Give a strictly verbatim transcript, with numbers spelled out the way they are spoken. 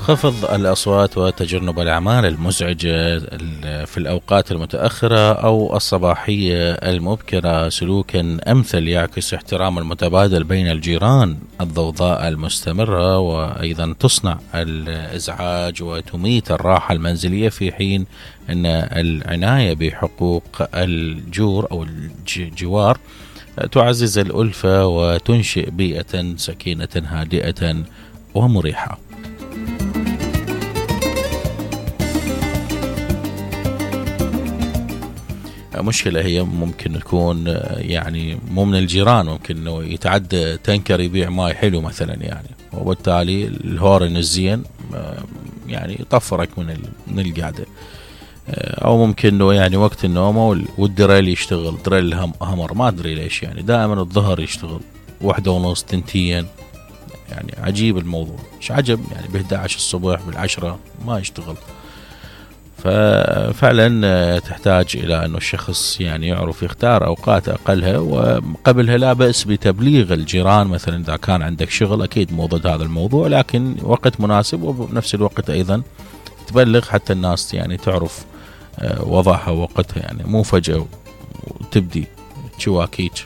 خفض الأصوات وتجنب الأعمال المزعجة في الأوقات المتأخرة أو الصباحية المبكرة سلوكا أمثل يعكس احترام المتبادل بين الجيران. الضوضاء المستمرة وأيضا تصنع الإزعاج وتميت الراحة المنزلية، في حين أن العناية بحقوق الجور أو الجوار تعزز الألفة وتنشئ بيئة سكينة هادئة ومريحة. مشكلة هي ممكن تكون يعني مو من الجيران، ممكن انه يتعدى تنكر يبيع ماي حلو مثلا يعني، وبالتالي الهورن الزين يعني يطفرك من من القعدة. او ممكن انه يعني وقت النوم والدريل يشتغل، دريل الهمر ما ادري ليش يعني دائما الظهر يشتغل واحدة ونص تنتين، يعني عجيب الموضوع، مش عجب يعني بإحدى عشر الصبح بالعشرة ما يشتغل. ففعلا تحتاج إلى أنه الشخص يعني يعرف يختار أوقات أقلها، وقبلها لا بأس بتبليغ الجيران مثلا إذا كان عندك شغل، أكيد مو ضد هذا الموضوع، لكن وقت مناسب، وبنفس الوقت أيضا تبلغ حتى الناس يعني تعرف وضعها ووقتها، يعني مو فجأة وتبدي شواكيك.